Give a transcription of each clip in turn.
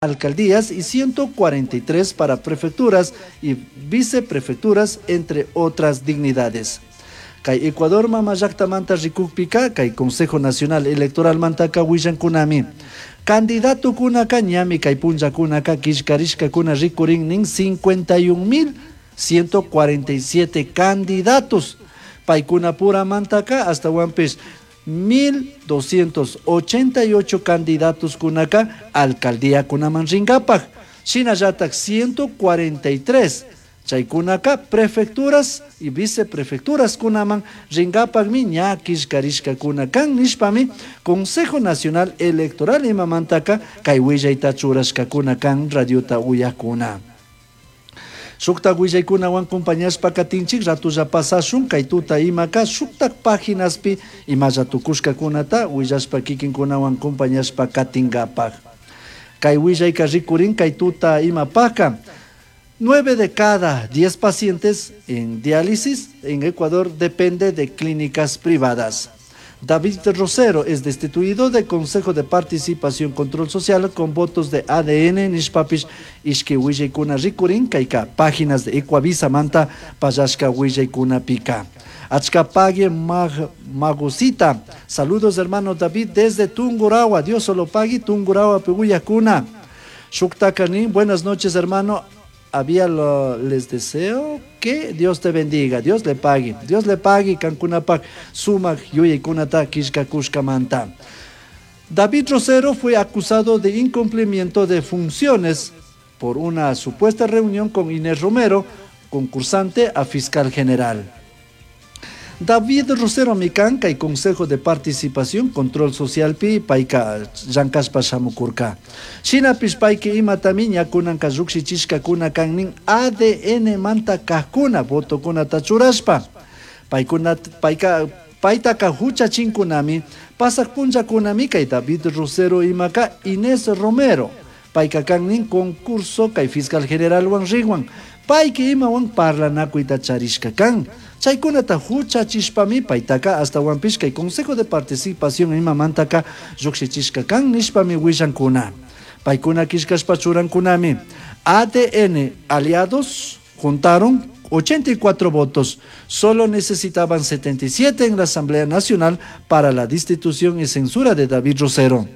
Alcaldías y 143 para prefecturas y viceprefecturas, entre otras dignidades. Kay Ecuador mama llaktamanta rikukpika, kay Consejo Nacional Electoral mantaka willankunami. Candidatokunaka ñami kay punllakunaka killkarishkakuna rikurin nin 51.147 candidatos. Paykunapuramantaka astawanpish 1.288 candidatos kunaka alcaldía kunaman rinkapak. Shinallatak 143 chaykunaka prefecturas y viceprefecturas kunaman rinkapakmi ña killkarishkakuna kan nishpami Consejo Nacional Electoral imamantaka kay willayta churashkakuna kan radiota uyakuna. Shuktak willaykunawan compañashpa katinchik ratulla pasashun kay tuta imaka shuktak paginaspi imalla tukushkakunata willashpa kikinkunawan compañashpa katinkapak. Kay willayka rikurin kay tuta imapaka 9 de cada 10 pacientes en diálisis en Ecuador depende de clínicas privadas. David Rosero es destituido del Consejo de Participación Control Social con votos de ADN, nishpapish, ishki willaykuna rikurin, kayka páginas de Ecuavisa manta, pallashka willaykuna pika. Achcapague mag, Magusita. Saludos hermano David desde Tungurahua. Dios solo pague Tungurahua Peguyacuna. Shuktakani, buenas noches hermano. Había lo, les deseo que Dios te bendiga, Dios le pague, Dios le pague, kankunapak, sumak, yuyaykunata, kishka kushkamanta. David Rosero fue acusado de incumplimiento de funciones por una supuesta reunión con Inés Romero, concursante a fiscal general. David Rosero Micanca y Consejo de Participación Control Social pi payka llankashpa shamukurka. Shinapish payka imatami ñakunanka llukshichishkakuna kan nin ADN manta kajkuna votokunata churashpa. Paykuna payka paytaka huchachinkunami pasak punllakunami kay David Rosero imaka Inés Romero. Payka kan nin concurso kay fiscal generalwan riwan. Payka imawan parlanakuyta charishka kan. Chaykunata huchachishpami paytaka astawanpish kay Consejo de Participación imamantaka llukshichishka kan nishpami willankuna. Paykuna killkashpa churankunami. ADN aliados juntaron 84 votos. Solo necesitaban 77 en la Asamblea Nacional para la destitución y censura de David Rosero,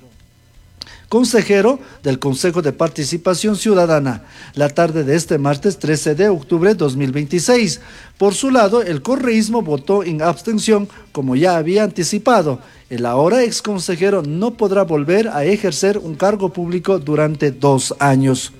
consejero del Consejo de Participación Ciudadana, la tarde de este martes 13 de octubre de 2026. Por su lado, el correísmo votó en abstención, como ya había anticipado. El ahora exconsejero no podrá volver a ejercer un cargo público durante 2 años.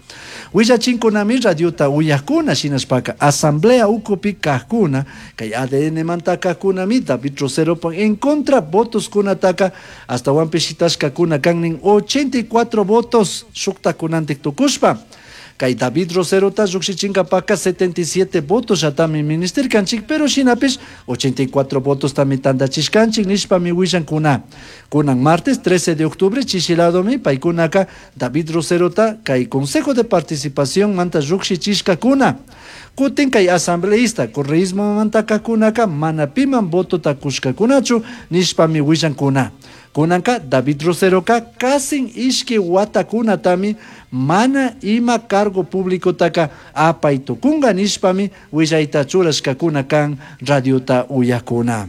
Willachinkunami radiota uyakuna shinashpaka asamblea ukupi kajkuna kay ADN manta kajkunami David Rosero en contra votos kunataka astawanpish shitashkakuna kan nin 84 votos shuktakunantik tukushpa. Kay David Roserota llukshichinkapaka 77 votos yatami ministirkanchik, pero shinapish 84 votos tami tantachishkanchik nishpami willankuna. Kunan martes 13 de octubre chishiladomi paykunaka David Roserota kay Consejo de Participación manta llukshichishkakuna. Kutin kay asambleísta correísmo manta kakunaka mana piman votota kushkakunachu nishpami willankuna. Kunanka David Roseroka kasin ishki watakunatami mana ima cargo público taka apay tukunga nishpami willayta churashkakuna kan radiota uyakuna.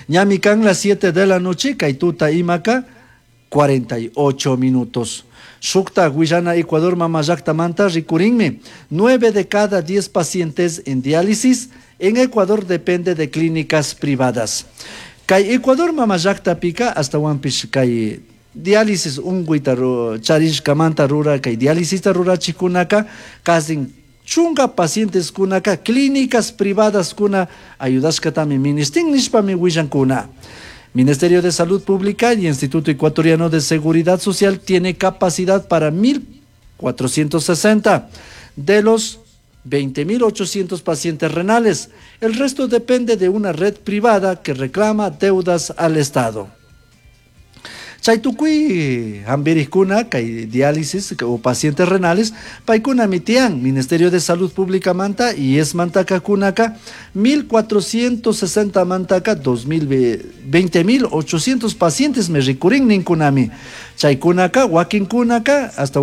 Ñami kan las 7 de la noche kay tuta imaka 48 minutos. Shukta willana Ecuador mama manta rikurinmi. 9 de cada 10 pacientes en diálisis en Ecuador depende de clínicas privadas. Kay Ecuador mama pika astawanpish kay diálisis unkuyta charishkamanta rura kay diálisista rurachikunaka kasin chunka pacientes kunaka clínicas privadas kuna ayudashkatami ministin nishpami willankuna. Ministerio de Salud Pública y Instituto Ecuatoriano de Seguridad Social tiene capacidad para 1.460 de los 20.800 pacientes renales. El resto depende de una red privada que reclama deudas al Estado. Chay tukuy hambirikuna kay diálisis o pacientes renales paykunami tiyan Ministerio de Salud Pública manta y es mantaka kunaka 1460 mantaka 20800 pacientes me rikurin ninkunami. Chaykunaka wakinkunaka hasta.